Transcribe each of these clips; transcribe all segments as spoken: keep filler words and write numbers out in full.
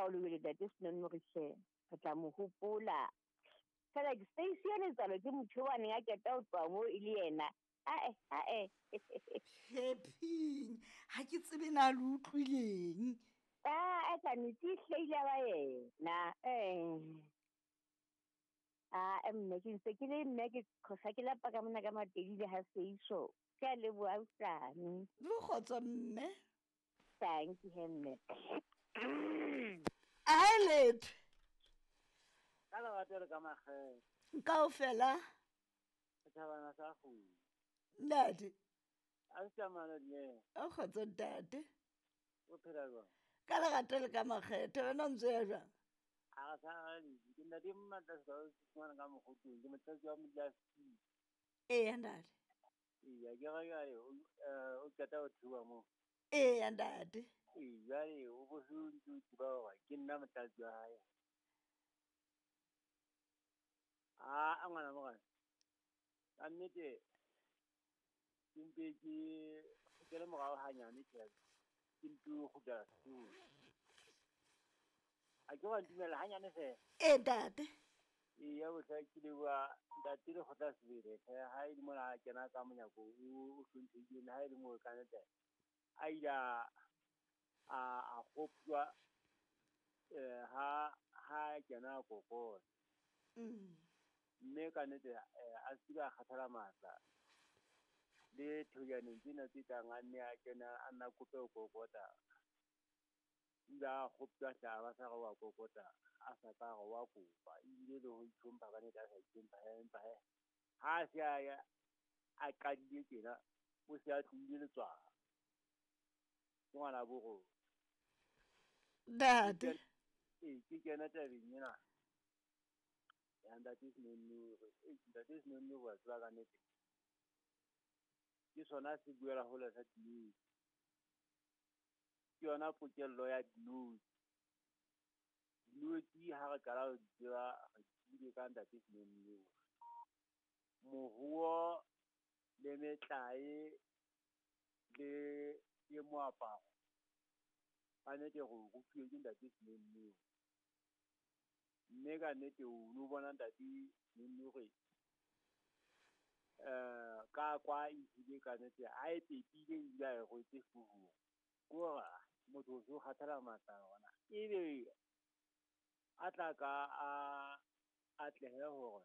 o lebele ntate Senonnori hle re tla mo hopola. Fela ke Stacy ya letsalo ke motho wa neng a qeta ho tloha moo e le yena. Ae, ae. Phephing, ha ke tsebe na le utlwileng. Ah, e ka nnete e hlahile ba yena. Eh. Ah, mme ke ntse ke le mme ke khosa ke lapa ka mona ka Matedi le ha Seiso. Ke a leboha autlane. Le kgotso mme. Thank you he mme. Ae letho. Ka lerato le ka makgethe. Kaofela. Setjhabana sa kgudu. Ntate. A se tsamaya le O kgotso ntate. O phela jwang? Ka lerato le ka makgethe wena o ntse ya jwang? A re sa le ke ntate Mmatla se o fumana ka mokgotong ke motlatsi wa modulasetulo. Eya ntate. Eya ke re jwale o eh, o qeta ho theoha moo. Eya ntate. Ee jwale o bo se o ntse o tseba hore ke nna motlatsi wa hae. A a ngwana morena. Ka nnete ke mpe ke kgutlele morao hanyane tjhe. Ke mpe ho kgutlela sekolong. A ke wa ntumella hanyane feela. Ee ntate. Eya bohle ke leboha ntate Lekgotla Sebele hle ha e le mona a kena ka monyako o o hlomphehileng le ha e le moo ka nnete a ile a a a kgoptjwa eh ha ha kena kokota. Mm. Mme ka nnete eh, a se ke a kgathala matla le thojaneng tsena tse tlang a nne a kena a nna kope ho kokota. O ile a kgoptjwa hle a ba sa re wa kokota a sa ka re wa kopa ebile le ho itlhompha ka nnete a sa itlhompha he empa he ha a se a ya a qadile tjena o se a tlohile letswalo. Ke ngwana bo rona. Ntate. Ee, ke kena tabeng ena ya ntate Senonnori. Ee, ntate Senonnori wa tseba ka nnete ke sona se buela hole sa dinotshi. Ke yona pokello ya dinotshi. Dinotshi ha re qala ho di tseba re tsebile ka ntate Senonnori. Moruo le metlae le le moaparo ka nnete re o rutuwe ke ntate Senonnori. Mme ka nnete o no bona ntate Senonnori eh ka kwa ebile ka nnete a e pepile ebile a e rwetse hloohong. Ke hore motho o so kgathala matla ona. Ebe a tla ka a atlehe hore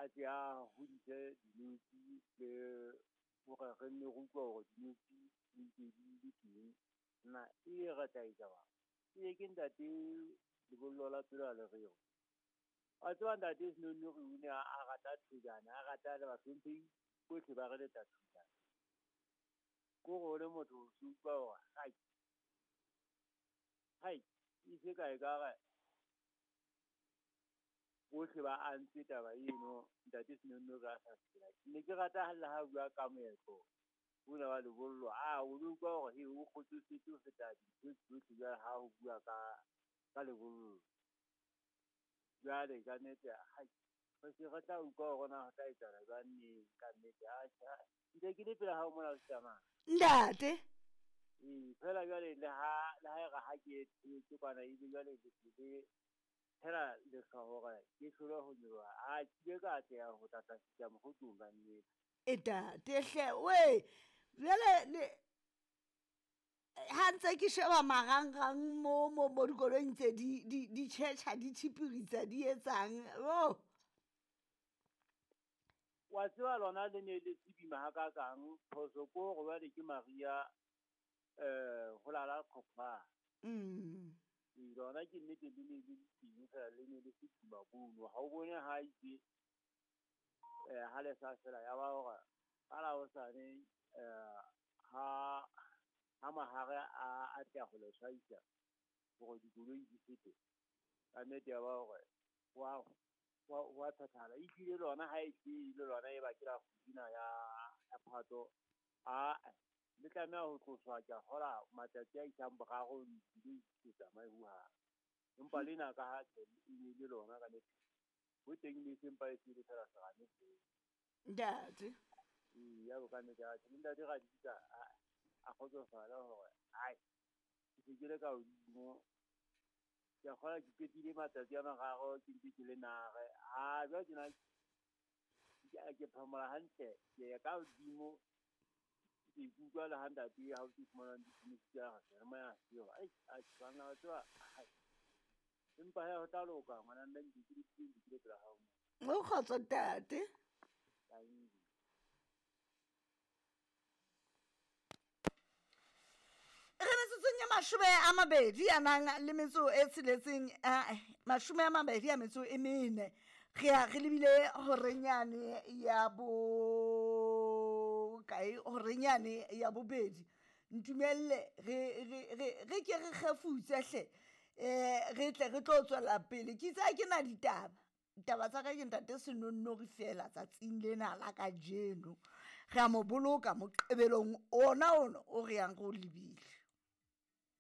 a tle a hodise dinotshi le hore re nne re utlwe hore dinotshi di ntse di le teng. Na e re tla etsa jwang? Ebe ke ntate lebollo la pelo a le reo. Wa tseba ntate Senonnori o ne a rata thojana, a rata le bahlomphehi bohle ba re leta thojana. Ke hore o le motho o se utlwa hore hai, hai, e se ka ekare bohle ba antse taba eno ntate Senonnori a sa phela. Ke ne ke rata le ha bua ka moetlo ona wa lebollo, a o lo utlwa hore he o kgotsofetse ho feta dintho tsohle jwale ha ho bua ka ka lebollo. Jwale ka nnete hai re se re tla utlwa hore na ho tla etsahala jwang neng ka nnete. Atjhe, ntse ke le pela hao mona o tsamaya. Ntate. Ee, fela jwale le ha le ha e re ha ke etse kwana ebe jwale le le fela lehlwa hore ke hlole ho nyoloha. A ke ile ka atleha ho tla fihla mokgotlong ka nnete. E ntate hle we jwale le ha ntse ke sheba marangrang mo mo mo dikoloing tse di di di tjhetjha di tshipiritsa di etsang oh. Wa tseba lona le ne le tsebima hakakang phoso ko hore jwale ke Maria eh ho lala qhoqhwa. Mm. Ee, lona ke nnete le ne le teng fela le ne le se boima bono. Ha o bone ha itse eh ha le sa fela ya ba hore ka la hosane eh ha ha mahare a a tla ho le tshwaisa hore dikoloi di fete. Ka nnete ya ba hore wa wa wa thathala. Ehlile lona ha e hlile lona e ba ke la kgudina ya ya Phato. A le tlameha ho tloswa ke a kgola matsatsi a isang boraro di di tsamaye hohang. Empa lena ka ha e ne le lona ka nnete. Ho teng le sempa e se le fela serame fela. Ntate. Ee, ya bo ka nnete atjhe le ntate Raditsa a a kgotsofala hore ai ke se ke le ka hodimo Ke a kgolwa ke qetile matsatsi a mararo ke ntse ke le nare. Ha jwale tjena ke ke phomola hantle, ke ya ka hodimo ke ikutlwa le ha ntate ha o ke fumana ditleliniki tsa seyalemoya seo. Ai atjhe banna wa tseba hai. Empa hee ho tla loka ngwana mme ntse ke le pela hao mo. O kgotso ntate. Tanki. Re metsotsong ya mashome a mabedi a nang le metso e tsheletseng ae mashome a mabedi a metso e mene. Re ya re lebile horeng yane ya bo kae horeng yane ya bobedi. Ntumelle re re re re ke re kgefutse hle um re tle re tlo tswela pele. Ke itse ha ke na ditaba. Ditaba tsa ka ke ntate Senonnori fela tsatsing lena la kajeno. Re a mo boloka moqebelong ona ono o re yang re o lebile.